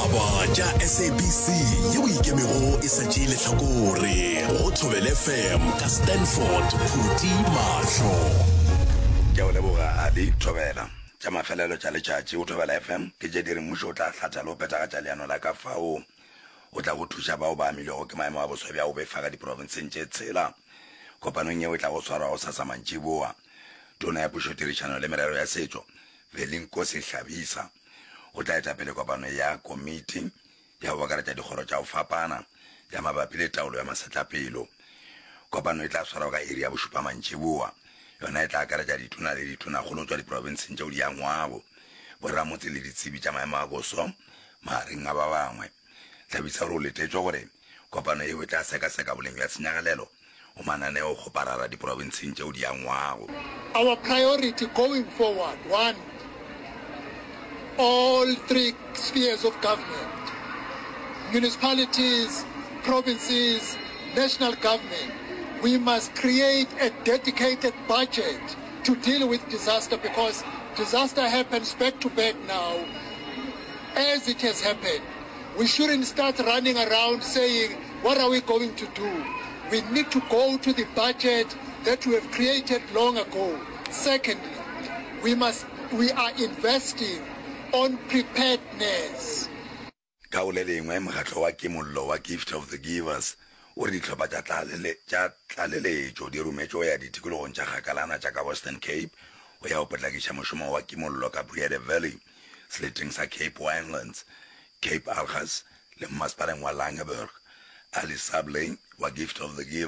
Ditaba tša SABC yeo e ikemego e sa tšee lehlakore go Thobela FM ka Stanford Phuti Mahlo. Ke a o leboga Ali. Thobela. Tša mafelelo tša letšatši go Thobela FM ke tše di re mmušo o tla hlatha le go phethagatša leano la ka fao o tlago thuša bao ba amilwego ke maemo a boso bja go befa ka diprofenseng tše tshela. Kopanong yeo e tlago swarwa gosasa mantšiboa, Tona ya Pušotirišano le Merero ya Setšo, Velinkosi Hlabisa, o tla eta pele kopano ya komiti ya go akaretša dikgoro tša go fapana ya mabapi le taolo ya masetlapelo. Kopano e tla swarwa ka iri ya bošupa mantšiboa. Yona e tla akaretša ditona le ditonakgolo go tšwa diprofenseng tšeo di angwago, boramotse le ditsebi tša maemo a boso, magareng a ba bangwe. Hlabisa o re o letetšwe gore kopano yeo e tla sekaseka boleng bja tshenyagalelo go mananeokgoparara diprofenseng tšeo di angwago. Our priority going forward, one, all three spheres of government, municipalities, provinces, national government, we must create a dedicated budget to deal with disaster because disaster happens back to back now as it has happened. We shouldn't start running around saying, what are we going to do? We need to go to the budget that we have created long ago. Secondly, we must, we are investing on preparedness. Ka go le lengwe, mokgatlo wa kimollo wa Gift of the Givers o re dihlopha tša tša tlaleletšo di rometšwe go ya ditikologong tša kgakalana tša ka Western Cape go ya go potlakiša mošomo wa kimollo ka Breede Valley, seleteng sa Cape Winelands, Cape Agulhas le mmasepaleng wa Langeberg. Ali Sablay wa Gift of the Givers.